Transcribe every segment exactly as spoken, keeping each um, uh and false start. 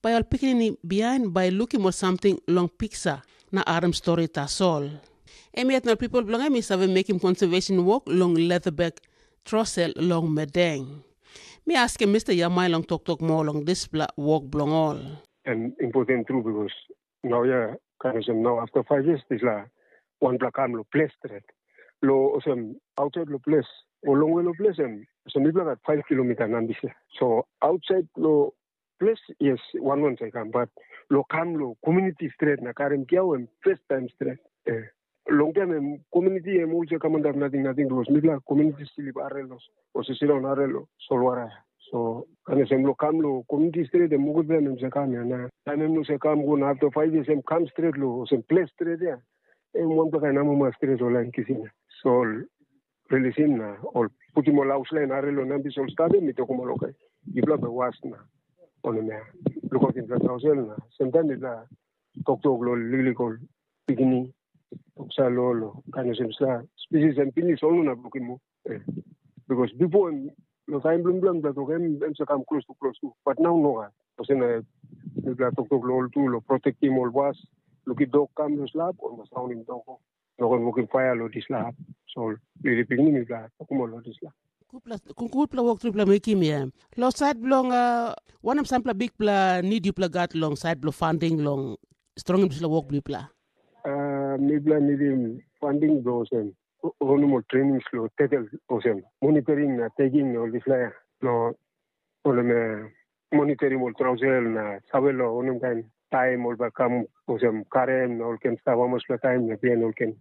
bai ol pikinini bihain bai lukim ol samting long piksa na harim stori tasol. Em yet na ol pipel bilong em i save mekim konservesen wok long Leatherback Trosel long Medeng. Mi askim Mista Yamai long toktok moa long dispela wok bilong ol. Em important tru, because nau ya, kain olsem, nau after five years, dispela wanpela kam lo ples stret. Lo olsem, outside lo ples, o longwe lo ples em, olsem, mipela gat five kilomita nambis ya. So, outside lo ples, yes, wan wan sa i kam, but lo kam lo community stret na karim kiau em first time stret. Eh. Long taim em community em olsem kam antap nating nating, because mipela community slip arelo, o se siraun arelo, solwara. So, kan olsem lo kam lo community stret em mokot em em se kam ya, na taim em no se kam go na after five years em kam stret lo, olsem ples stret ya, em wanpela kain amuma stret ol lain kisim ya. So, ol rilisim na ol putim ol haus lain arelo nambis ol stap em i tokim ol, oke, yupela bai was na, onem ya, lukautim dispela trausel na, semtaim mipela toktok lo liklik ol pikinini, toksa lo, lo, kain olsem sa, spisis em pinis ol no na brukim mo. Eh. Because bipo em, lo taim bilong bilong mipela tok em, em sa kam klostu, klostu. But nau no gat. Olsem na, mipela toktok lo ol tu, lo protektim ol was, lukim dok kam lo slap, ol mas raunim dok. No ken wokim paia lo dispela hap. So, lili pikinini mipela tokim ol lo dispela. Gutpela, gutpela wok tripela mekim ya. Lo sait bilong, uh, wanem sampela bikpela nid yupela gat long sait bilong funding long strongim dispela wok bilong yupela? Uh, mipela nidim funding bilong olsem, o- onim ol trainings lo tetel olsem, monitoring na taking ol dispela ya. Lo, olem, eh, monitoring ol trausel na save lo onim kain taim ol bai kam olsem karem na ol ken stap hamaspela taim na bihain ol ken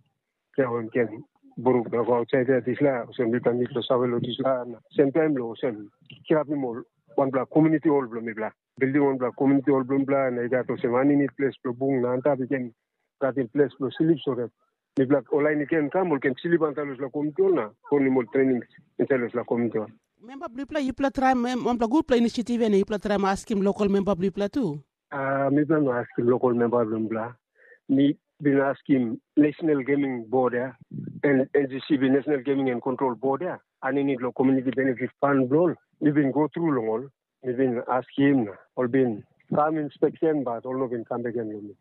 kiau em ken bruk na go ausait ya dispela, olsem mipela nid lo save lo dispela na sem taim lo olsem kirapim ol wanpela komuniti hol bilong mipela. Bildim wanpela komuniti hol bilong mipela na i gat olsem aninit ples bilong bung na antap i ken gatim ples bilong slip so that mipela ol lain i ken kam ol ken slip antap lo dispela komuniti hol na konim ol trening insait lo dispela komuniti hol. Memba bilipela yupela traim em wanpela gutpela inisiativ ya na yupela traim askim lokal memba bilipela tu? Ah, mipela no askim lokal memba bilong mipela. Mi bin askim National Gaming Board ya, en N G C B, National Gaming and Control Board ya, aninit lo Community Benefit Fund bilong ol. Mi bin go tru long ol. Mi bin askim na ol bin kam inspeksen, bat ol no bin kam bek gen long mi.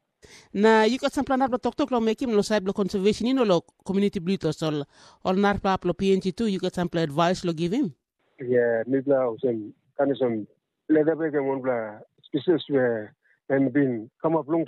Na yu gat sampela narapela toktok long mekim long sait bilong konservesen i no long komuniti bilong yu tasol ol narapela hap long P N G tu, yu gat sampela advais long givim? Ya, mipela olsem, kain olsem, leatherback em wanpela species we em bin kamap long